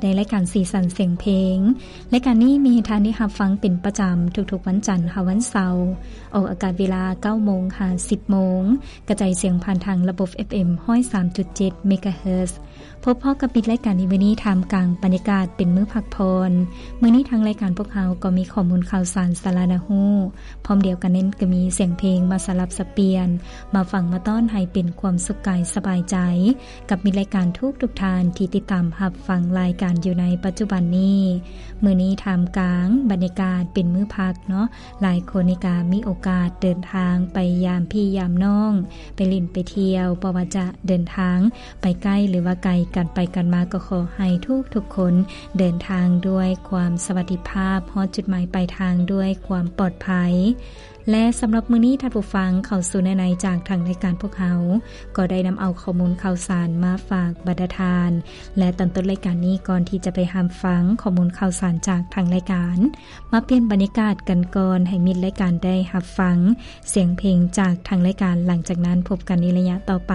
ໃນລາຍການສີສັນສຽງເພງ. ລາຍການນີ້ມີໃຫ້ທ່ານໄດ້ຮັບຟັງເປັນປະຈຳທຸກໆວັນຈັນຫາວັນເສົາ, ອອກອາກາດເວລາເກົ້າໂມງຫາສິບໂມງ, ກະຈາຍສຽງຜ່ານທາງລະບົບ ເອັຟເອັມ ຮ້ອຍສາມຈຸດເຈັດ ເມກາເຮີດ. ພົບພໍ້ກັບມິດລາຍການໃນມື້ນີ້ ທ່າມກາງບັນຍາກາດເປັນມື້ພັກຜ່ອນ. ມື້ນີ້ທາງລາຍການພວກເຮົາກໍມີຂໍ້ມູນຂ່າວສານສາລະໜ້າຮູ້, ພ້ອມດຽວກັນນັ້ນກໍມີສຽງເພງມາສະຫຼັບສັບປ່ຽນ, ມາຟັງມາຕ້ອນໃຫ້ເປັນຄວາມສຸກກາຍສະບາຍໃຈ ກັບມິດລາຍການທຸກໆທ່ານທີ່ຕິດຕາມຮັບຟັງລາຍການຢູ່ໃນປັດຈຸບັນນີ້. ມື້ນີ້ທ່າມກາງບັນຍາກາດເປັນມື້ພັກເນາະ, ຫຼາຍຄົນນີ້ກະມີໂອກາດເດີນທາງໄປຢາມພີ່ຢາມນ້ອງ, ໄປຫຼິ້ນໄປທ່ຽວ, ບໍ່ວ່າຈະເດີນທາງໄປໃກ້ ຫຼືວ່າໄກ, ການໄປການມາກໍຂໍໃຫ້ທຸກໆຄົນເດີນທາງດ້ວຍຄວາມສະຫວັດດີພາບ, ຮອດຈຸດໝາຍປາຍທາງດ້ວຍຄວາມປອດໄພ. ແລະ ສຳລັບມື້ນີ້ທ່ານຜູ້ຟັງເຂົ້າສູ່ເນື້ອໃນຈາກທາງລາຍການພວກເຮົາ ກໍໄດ້ນຳເອົາຂໍ້ມູນຂ່າວສານມາຝາກບັນດາທ່ານ ແລະ ຕອນຕົ້ນລາຍການນີ້ ກ່ອນທີ່ຈະໄປຮັບຟັງຂໍ້ມູນຂ່າວສານຈາກທາງລາຍການ ມາປ່ຽນບັນຍາກາດກັນກ່ອນ ໃຫ້ມິດລາຍການໄດ້ຮັບຟັງສຽງເພງຈາກທາງລາຍການ. ຫຼັງຈາກນັ້ນພົບກັນໃນໄລຍະຕໍ່ໄປ.